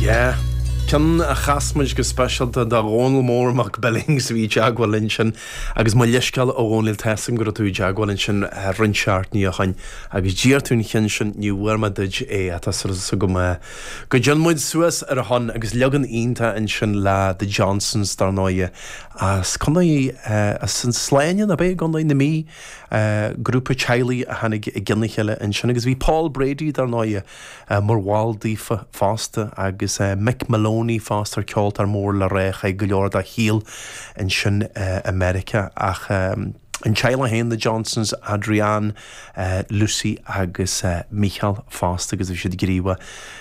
Yeah. Ceann a chas muid go speisialta do Dhónal Mór Mac Billings a bhí i dteagmháil linn ansin agus mo leithscéal a Dhónaill tá 'fhios a'm go raibh tú i dteagmháil ansin roinnt seachtainí ó shoin agus d'iarr tú an cheann sin ní bhfuair mé duit é ach tá súil agam go dtéann muid suas ar a shon agus leagan iontach ansin le The Johnsons dar ndóighe as Contae as an Sláine ab é i gContae na Mí grúpa teaghlaigh a tháinig i gcionn a chéile ansin agus bhí Paul Brady dar ndóighe mar bhall daofa fosta agus Mick Moloney fosta ar ceoltóir mór le rá a chaith go leor dá shaol ansin i Meiriceá ach an teaghlach féin, The Johnsons, Adrienne, Lucy agus Mícheál fosta agus bhí siad gníomhach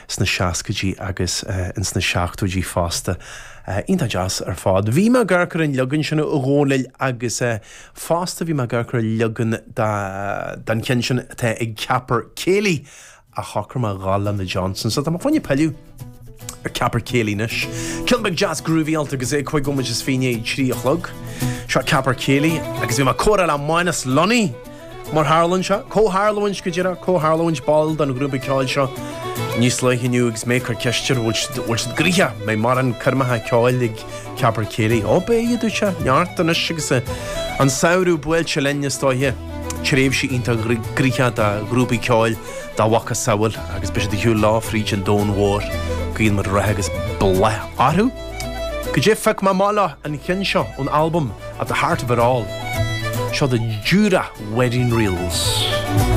sna seascaidí agus ins na seachtóidí fosta. Iontach deas ar fad. Bhí mé ag amharc ar an leagan sin a Dhónaill agus fosta bhí mé ag amharc ar leagan den cheann sin atá ag Caper Céilí ach shocraigh mé a dhul le na Johnsons. So tá mé fá choinne pilleadh ar Caper Céilí anois. Ceann beag deas groovy-áilte agus é 25 nóiméad i ndiaidh 3 a chlog. Seo Caper Céilí agus bhí mé ag comhrá le Mánas Lunny mar tharlaíonn sé. Comhtharlúint go díreach, comhtharlúint ball den ghrúpa ceoil seo níos luaithe inniu agus mé ag cur ceist air bhfuil siad bhfuil siad gnoitheach, mbeidh mórán coirmeacha ceoil ag Caper Céilí. Ó beidh, a dúirt sé, neart anois agus an samhradh buailte linn is dóiche. Tréimhse iontach gnoitheach do ghrúpaí ceoil dá mhacasamhail agus beidh siad ar shiúl leo fríd an domhan mhór. Guíonn muid rath agus bláth orthu. Goidé phioc mé amach leo an cheann seo ón albam At the Heart of It All. Seo The Jura Wedding Reels.